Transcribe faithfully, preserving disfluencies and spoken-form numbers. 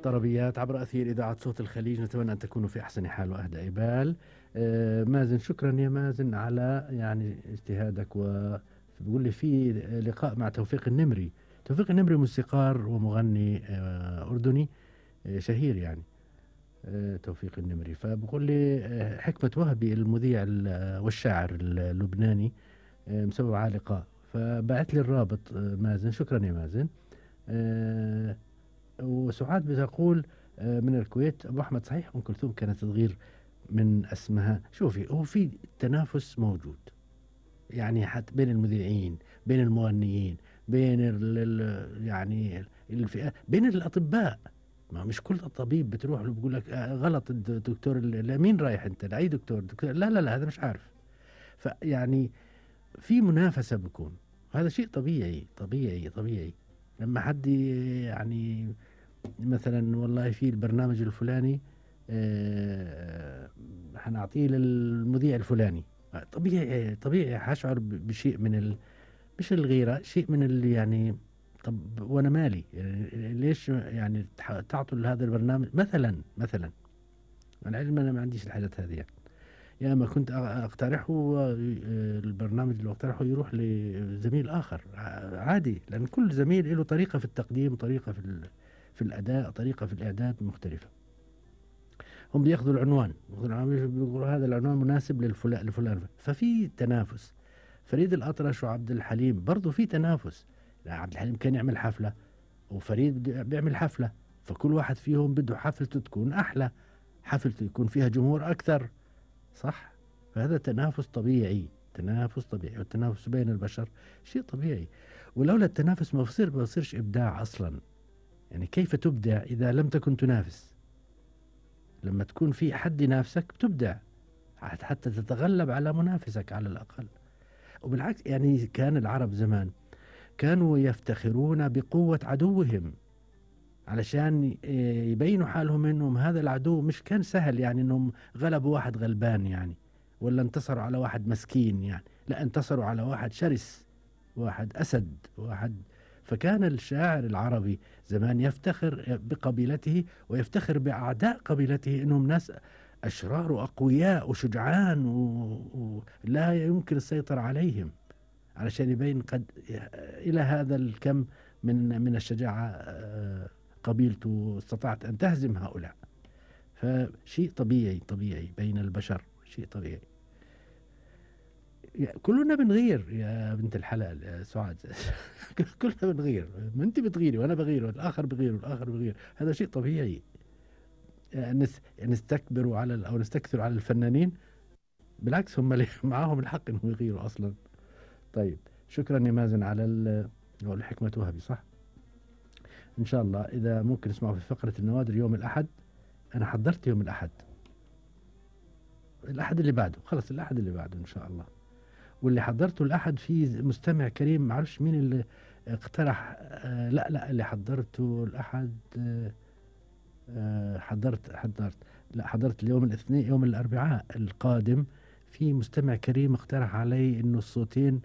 طربيات عبر أثير إذاعة صوت الخليج، نتمنى أن تكونوا في أحسن حال وأهدى بال. آه، مازن، شكرا يا مازن على يعني اجتهادك. وبيقول لي في لقاء مع توفيق النمري. توفيق النمري موسيقار ومغني آه، أردني آه، شهير يعني. آه، توفيق النمري، فبقول لي آه، حكمة وهبي المذيع ال- والشاعر اللبناني آه، مسوي معاه لقاء، فبعت لي الرابط. آه، مازن، شكرا يا مازن. آه، وسعاد بتقول آه، من الكويت: أبو أحمد، صحيح أم كلثوم كانت تغير من اسمها؟ شوفي، هو في تنافس موجود يعني، حتى بين المذيعين، بين المغنيين، بين ال ال يعني الفئات، بين الأطباء. ما مش كل الطبيب بتروح له بيقول لك آه، غلط الدكتور، لمين رايح انت؟ لاي دكتور؟ دكتور لا لا لا، هذا مش عارف. فيعني في منافسة بكون، هذا شيء طبيعي طبيعي طبيعي. لما حد يعني مثلا والله في البرنامج الفلاني آه، حنعطيه للمذيع الفلاني، طبيعي طبيعي حشعر ب- بشيء من ال... مش الغيرة، شيء من اللي يعني. طب وانا مالي يعني؟ ليش يعني تح- تعطوا لهذا البرنامج مثلا مثلا؟ انا علم انا ما عنديش الحاجات هذه يعني. يا ما كنت أ- اقترحه آه، البرنامج اللي اقترحه يروح لزميل اخر ع- عادي، لان كل زميل له طريقة في التقديم، طريقة في ال... في الاداء، طريقة في الاعداد مختلفة. هم بياخذوا العنوان، بياخذوا العنوان بيقولوا هذا العنوان مناسب للفلان لفلان، ففي تنافس. فريد الأطرش وعبد الحليم برضه في تنافس. لا، عبد الحليم كان يعمل حفلة وفريد بده- بيعمل حفلة، فكل واحد فيهم بده حفلته تكون أحلى، حفلته يكون فيها جمهور أكثر، صح؟ فهذا تنافس طبيعي، تنافس طبيعي، والتنافس بين البشر شيء طبيعي. ولولا التنافس ما بصير ما بصيرش إبداع أصلا. يعني كيف تبدع إذا لم تكن تنافس؟ لما تكون في حد ينافسك بتبدع، حت- حتى تتغلب على منافسك على الأقل. وبالعكس يعني كان العرب زمان كانوا يفتخرون بقوة عدوهم، علشان ي- يبينوا حالهم انهم هذا العدو مش كان سهل، يعني انهم غلبوا واحد غلبان يعني، ولا انتصروا على واحد مسكين يعني، لا، انتصروا على واحد شرس، واحد أسد، واحد. فكان الشاعر العربي زمان يفتخر بقبيلته ويفتخر بأعداء قبيلته انهم ناس أشرار وأقوياء وشجعان و- ولا يمكن السيطرة عليهم، علشان يبين قد إلى هذا الكم من من الشجاعة آه، قبيلته استطاعت أن تهزم هؤلاء. فشيء طبيعي طبيعي بين البشر، شيء طبيعي. يا- كلنا بنغير يا بنت الحلال يا سعاد. كلنا بنغير، ما انت بتغيري وانا بغير والاخر بغير والاخر بغير، هذا شيء طبيعي. يعني نس- نستكبروا على ال- او نستكثروا على الفنانين، بالعكس هم اللي معاهم الحق انهم يغيروا اصلا. طيب، شكرا يا مازن على ال- هو الحكمة وهبي صح. ان شاء الله اذا ممكن نسمعه في فقرة النوادر يوم الاحد. انا حضرت يوم الاحد، الاحد اللي بعده خلص، الاحد اللي بعده ان شاء الله. واللي حضرته الاحد في مستمع كريم، ما اعرفش مين اللي اقترح. آه لا لا، اللي حضرته الاحد آه آه حضرت حضرت لا، حضرت اليوم الاثنين، يوم الاربعاء القادم. في مستمع كريم اقترح علي انه الصوتين